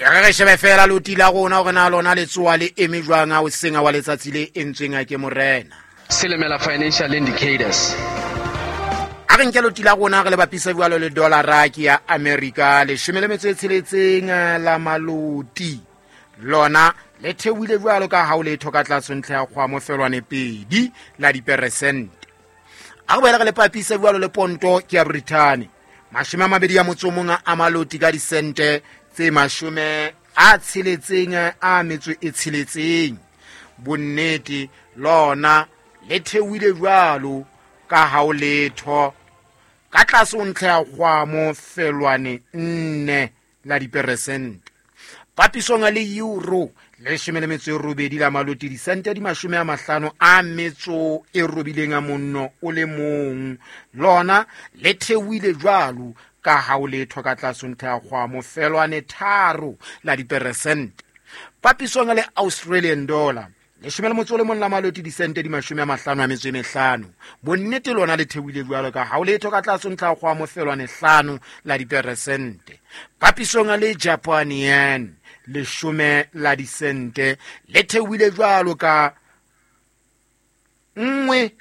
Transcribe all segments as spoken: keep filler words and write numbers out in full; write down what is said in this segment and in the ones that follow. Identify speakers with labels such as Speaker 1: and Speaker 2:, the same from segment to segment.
Speaker 1: E re re shebe fela loti la rona hore na lona le tsoa le eme jwang ha o senga wa letsatsi le entsweng a ke morena.
Speaker 2: Silimela Financial Indicators.
Speaker 1: A re nke loti la rona re le bapise jwalo le dollara ke ya America leshome le metso e tsheletseng la maloti. Lona le theohile jwalo ka ha o letho ka tlase ntlha ya kgwamo felwane pedi la diperesente. A re boele re le bapise jwalo le ponto ke ya Britain. Mashome a mabedi a motso o mong a maloti ka disente tse mashome a tsheletseng a metso e tsheletseng. Bonnete lona le theohile jwalo ka ha o letho ka tlase ho ntlha ya kgwamo felwane nne la diperesente. Papisong le euro leshome le metso e robedi la maloti disente di mashome a mahlano a metso e robileng a monno o le mong. Lona le theohile jwalo ka ha o letho ka tlase ho ntlha ya kgwamo felwane tharo la diperesente. Papisong le Australian dollar leshome le motso o le mong la maloti disente di mashome a mahlano a metso e mehlano. Bonnete lona le theohile jwalo ka ha o letho ka tlase ho ntlha ya kgwamo felwane hlano la diperesente. Papisong le Japan yen leshome la disente le theohile jwalo ka nngwe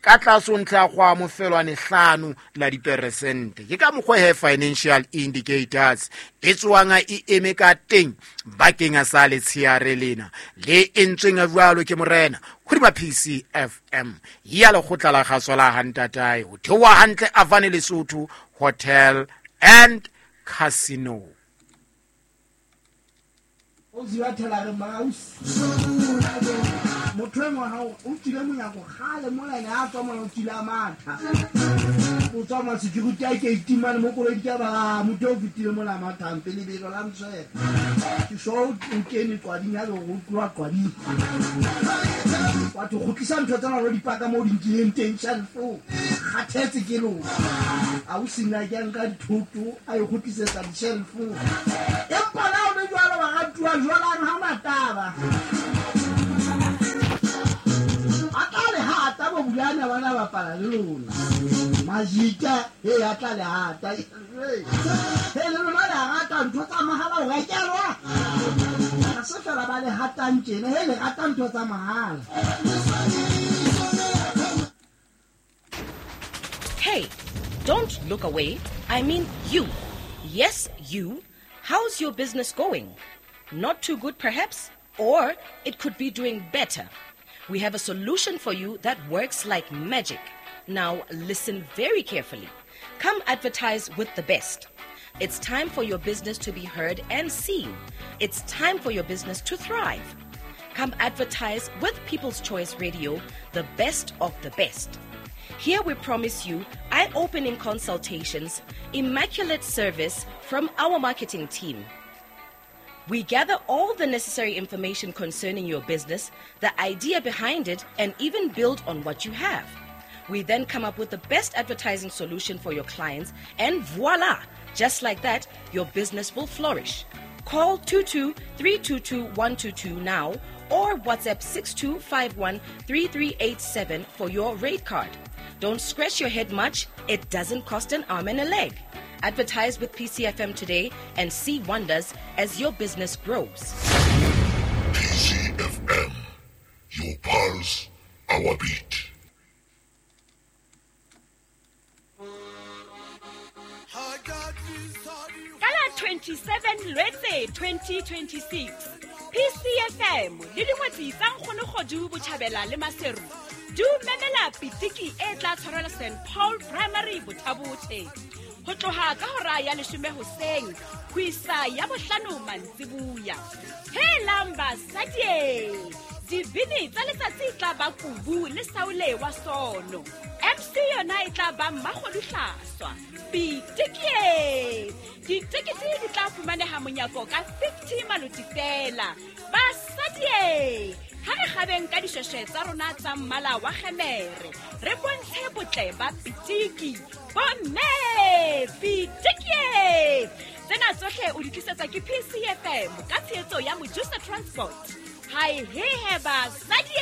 Speaker 1: ka tlase ho ntlha ya kgwamo felwane hlano la diperesente. Ke ka mokgwa he Financial Indicators e tswang e eme ka teng bakeng sa letsheare lena le entsweng jwalo ke morena hodima P C F M ya lekgotla la kgaso la Hantatae ho theoha hantle Avane Lesotho Hotel and Casino.
Speaker 3: O ziwa thela re mouse. Motho e mong ha o tsile monyako kgale mola ene a tswa mona o tsile a matha. O tswa ma security a ke itimane mo koloi ke ba motho o fetile mola mathang pele lebelo la mtshwere. Ke sho o kene qwading ya go tloha qwading. Batho kgutlisa ntho tsena lo dipaka mo di nkileng teng shelf-ong. Kgathetse ke lona. A o sina ke nka dithoto a e kgutlisetsa di-shelf-ong. Empa la o le jwalo ba ratuwa jwalang ha mataba. Atla bo bulana bana bapala le lona. Majika e atla le hata. He le lona le rata ntho tsa mahala o rekelwa. Ha se fela ba le hatang tjena, he le rata ntho tsa mahala.
Speaker 4: Hey, don't look away. I mean you. Yes, you. How's your business going? Not too good perhaps, or it could be doing better. We have a solution for you that works like magic. Now listen very carefully. Come advertise with the best. It's time for your business to be heard and seen. It's time for your business to thrive. Come advertise with People's Choice Radio, the best of the best. Here we promise you eye-opening consultations, immaculate service from our marketing team. We gather all the necessary information concerning your business, the idea behind it, and even build on what you have. We then come up with the best advertising solution for your clients, and voila! Just like that, your business will flourish. Call two two three two two one two two now or WhatsApp six two five one three three eight seven for your rate card. Don't scratch your head much. It doesn't cost an arm and a leg. Advertise with P C F M today and see wonders as your business grows.
Speaker 5: P C F M, your pulse, our beat.
Speaker 6: Kala twenty-seven Lwetse twenty twenty-six, P C F M le dingwetsi tsa Nkgonogodu Botjhabela le Maseru di memela pitiki e tla tshwarelwa Saint Paul Primary Bothabothe. Ho tloha ka hora ya leshome hoseng ho isa ya bohlano mantsibuya. Helang basadi, dibini tsa letsatsi tla ba Kubu le Saule wa Sono. M C yona e tla ba Mmakgoduhlaswa. Pitiki! Ditekete di tla fumaneha monyako ka fifty maloti fela. Basadi, ha re kgabeng ka dishweshwe tsa rona tsa mmala wa kgemere, re bontshe botle ba pitiki. Bomme, pitiki! Tsena tsohle o di tlisetsa ke P C F M ka tshehetso ya Mojusa Transport. Hai he he basadi!